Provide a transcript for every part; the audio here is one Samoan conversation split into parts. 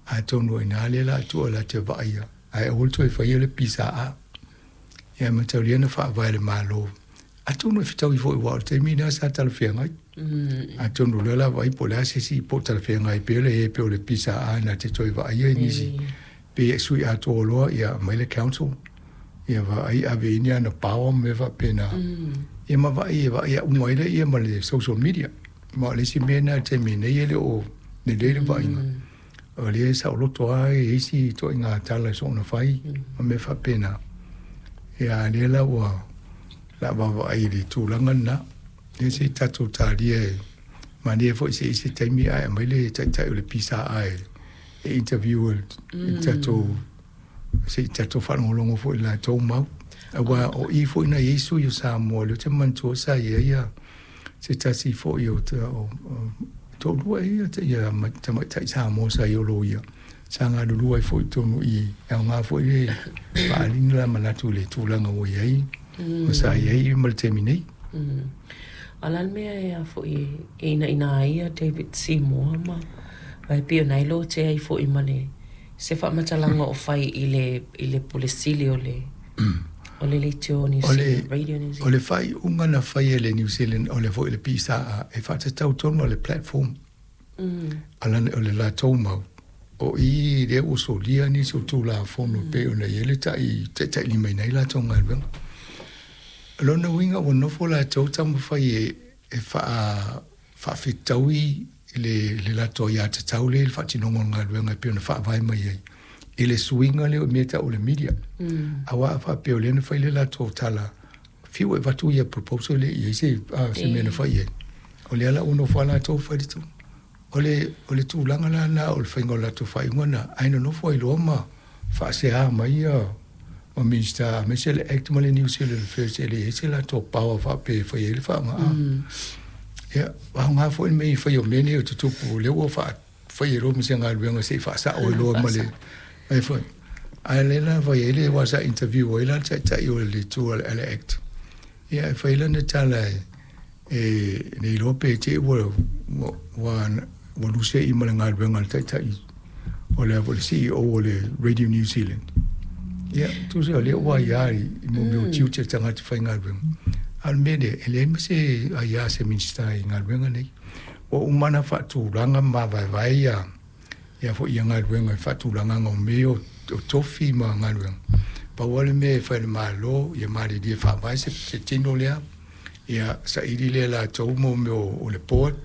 Atonu o i ina lea o le a tuu e latou te vaaia, ae aua le toe faia le PSA. Ia e mataulia na faavae e le Malo, atonu e fetaui foi aua o le taimi lena sa talafeagai. Atonu o lea o le a vaai po o le a se isi po o talafeagai pea le pei o le PSA na te toe vaaia nisi pe sui atoa loa ia aumai le council ia vaai ave i ai ni ana power ma mea faapena. Ia ma vaai e vaai uma ai lea ma le social media. Ma o le isi mea lena i le taimi nei e le o lelei le vaaiga. O lea e saoloto lava e i ai isi ituaiga tala e soona fai ma mea faapena. Ia a o lea la ua o le a vaavaai i le tulaga lena. Ia se i tatou talia e manaia foi se i ai se taimi ae aumai le taitai o le PSA e interview e le tatou se i tatou faalogologo foi i le latou mau. Aua o i foi na i ai sui o Samoa, o lea ou te manatua sa i ai se tasi foi o toalua ea tamaitai Samoa sa i ai o loia, sa galulue ai foi i totonu i i, e aoga foi le faaaliga o la manatu i le tulaga ua i ai ma sa i ai ma le taimi nei. A o le a le mea e a foi e inaina ai ia David Seymour ma aua e pei o lena e lotea ai foi ma le se faamatalaga o fai i le i le Pule Sili o le o le Leitio New Zealand, Radio New Zealand. O le faaiuga na fai e le New Zealand o le foi le PSA e faatatau tonu a le platform a o le latou mau o i lea ua solia nisi o Tulafono e pei ona i ai le taitailimaina ai latou galuega. O lona uiga ua nofo latou taumafai e faafetaui le latou aiatatau lea i le faatinoga o le galuega e pei ona faavae mai ai i le suiga lea o mea e tau o le media. Aua a faapea o lea na fai le latou tala, fiu e avatu ia proposal e le i i ai se mea na fai i ai. O lea la ua nofo lava latou fai le tulaga. O le tulaga la lena o le faiga o le latou faaiuga lena, ae nonofo ai loa ma faasea mai ia ma Minisita aemaise le Act ma le New Zealand Affairs e leai se latou power faapea e fai ai le faaaoga. Ia, aoga foi le mea i fai o mea nei o tutupu, o lea ua fai ai loa ma se galuega se i faasao ai loa ma le ai foi. Ae lea la fai ai le aua sa interview ai la le taitai o le itu a le Act. Ia e fai lana tala e le iloa pe te i ua ua ua luse'i ma le galuega a le taitai o le le CEO o le Radio New Zealand. Ia, tusa o lea ua aia i mea o tiute o tagata faigaluega. A o le mea lea, e leai ma se aia a se Minisita i galuega nei. Ua uma ona faatulaga ma mavaevae ia ia foi ia galuega i faatulagaga o mea o tofi ma galuega. Pau lava le mea e fai e le Malo, ia malilie faavae se tino lea, ia saili lea e latou mo mea o le board,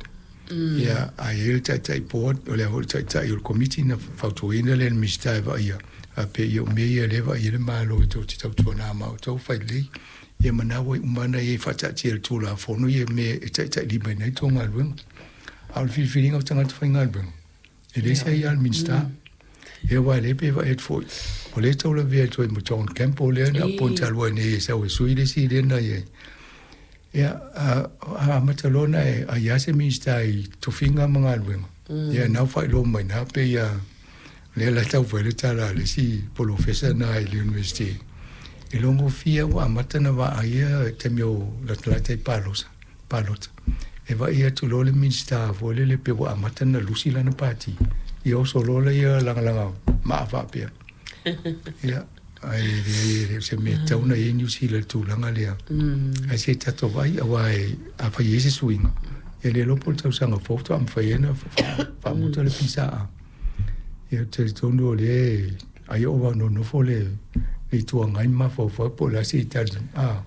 ia a i ai le taitai board, o le a foi le taitai o le komiti na fautuaina lea e le Minisita e vaaia, faapea ia o mea ia lea e vaai ai le Malo e tou te tautuana ma outou fai lelei. Ia ma na ua uma ona i ai faataatia e le Tulafono ia mea e taitailimaina ai tou galuega. A o le filifiliga o tagata faigaluega, e leai se aia a le Minisita. Ia aua o lea pei e vaai atu foi, o lea e taulavea atu ai ma John Campbell lea na appoint talu ai nei e sau e sui le isi lea na i ai. Ia, a amata loa ona e aia se Minisita i tofiga ma galuega, ia na ua faailoa mai i ina pei lava lea la e tau fai le tala a le isi polofesa na i le University, e logofia ua amata ona vaaia i taimi o latalata i palosa, palota. E vaai atu loa le Minisita foi lele pei ua amata ona lusi lana pati, ia oso loa lea lagalaga maa faapea. Ia, ae leai e le o se mea tatau ona i ai Niu Sila i le tulaga lea. Ae se i tatou vaai, aua afai e i ai se suiga, e le iloa po o le tausaga fou faatoa mafai ai ona faamuta le PSA. Ia ou te talitonu o lea ai o nonofo le Itu Agai ma mafaufau po o le a se tali, a,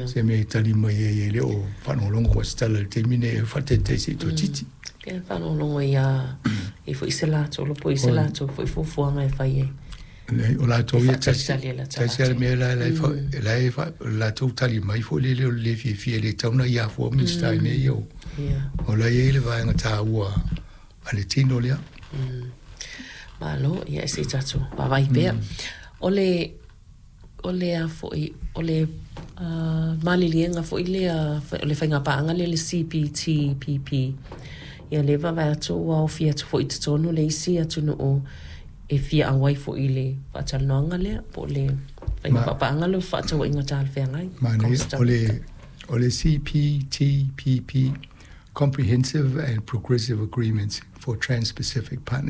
se mea e tali mai ai e le o faalogologo foi se tala i le taimi nei e faataitai se i toeitiiti. Pei ona faalogologo ia i foi se latou po i se latou foi fuafuaga e fai ai. O latou ia tasi tasi lava le mea la la e latou tali mai foi lele o le le fiafia e le tatau ona ia fua Minisita i mea ia o la e i ai le vaega taua a le tino lea. Malo, ia se i tatou vaavaai pea. O le, o le a foi, o le maliliega foi lea, o le faiga paaga lea le CPTPP, ia lea e vaavaai atu ua aofia atu foi i totonu le isi atunuu e fia auai foi i le faatalanoaga lea, po o le faiga paaga lea o fefaatauaiga talafeagai. Manaia, o le, o le CPTPP, Comprehensive and Progressive Agreements for Trans-Pacific Partnership.